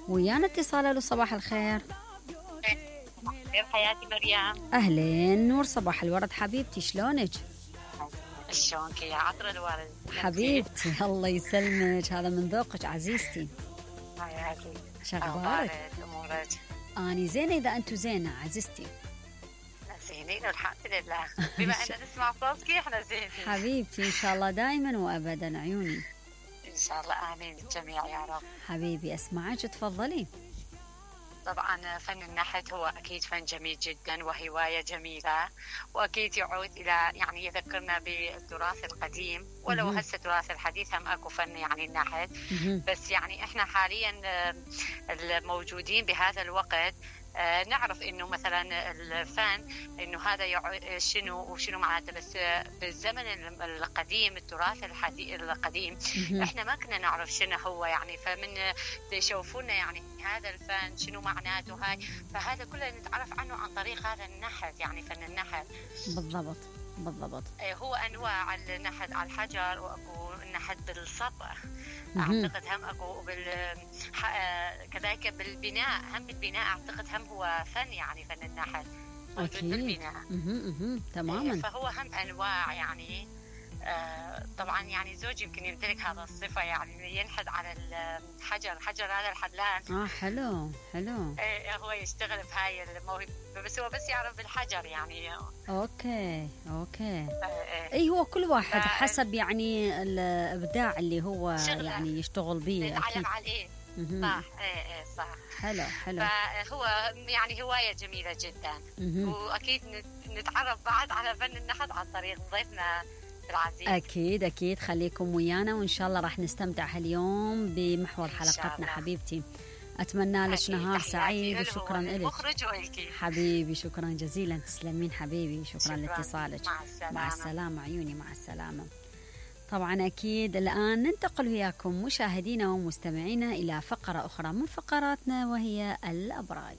ويانا اتصال. له صباح الخير. خير حياتي مريم. اهلين نور، صباح الورد حبيبتي، شلونك؟ شلونك يا عطر الورد حبيبتي؟ الله يسلمك، هذا من ذوقك عزيزتي. حياتي شغلك؟ امورك؟ اني زينه اذا انتو زينه عزيزتي. زينين والحمد لله. بما ان نسمع صوتك احنا زينين حبيبتي، ان شاء الله دائما وابدا عيوني. ان شاء الله امين الجميع يا رب. حبيبي اسمعك، تفضلي. طبعا فن النحت هو أكيد فن جميل جدا وهواية جميلة، وأكيد يعود إلى يعني يذكرنا بالتراث القديم، ولو هسه التراث الحديث هم أكو فن يعني النحت، بس يعني إحنا حاليا الموجودين بهذا الوقت نعرف انه مثلا الفن انه هذا شنو وشنو معناته، بس بالزمن القديم التراث القديم احنا ما كنا نعرف شنو هو يعني، فمن يشوفونا يعني هذا الفن شنو معناته هاي، فهذا كله نتعرف عنه عن طريق هذا النحت، يعني فن النحت. بالضبط بالضبط. هو انواع النحت على الحجر، واكو النحت بالصبغ اعتقد هم اكو كذلك بالبناء، هم بالبناء اعتقد هم هو فن، يعني فن النحت موجود بالبناء. تماما. فهو هم انواع يعني. طبعا يعني زوجي يمكن يمتلك هذا الصفه، يعني ينحت على الحجر، حجر هذا الحدلان. حلو حلو. هو يشتغل بهاي الموهبه، بس هو بس يعرف بالحجر يعني. اوكي. اي هو كل واحد حسب يعني الابداع اللي هو يعني يشتغل به. يتعلم عليه. صح. صح. حلو. فهو يعني هوايه جميله جدا. واكيد نتعرف بعد على فن النحت عن طريق ضيفنا العزيز. اكيد خليكم ويانا، وان شاء الله راح نستمتع هاليوم بمحور حلقتنا حبيبتي. اتمنى لك نهار سعيد، وشكرا لك حبيبي، شكرا جزيلا، تسلمين حبيبي، شكرا لاتصالك. مع السلامه عيوني، مع السلامه. طبعا أكيد الآن ننتقل وياكم مشاهدينا ومستمعينا إلى فقرة أخرى من فقراتنا، وهي الأبراج.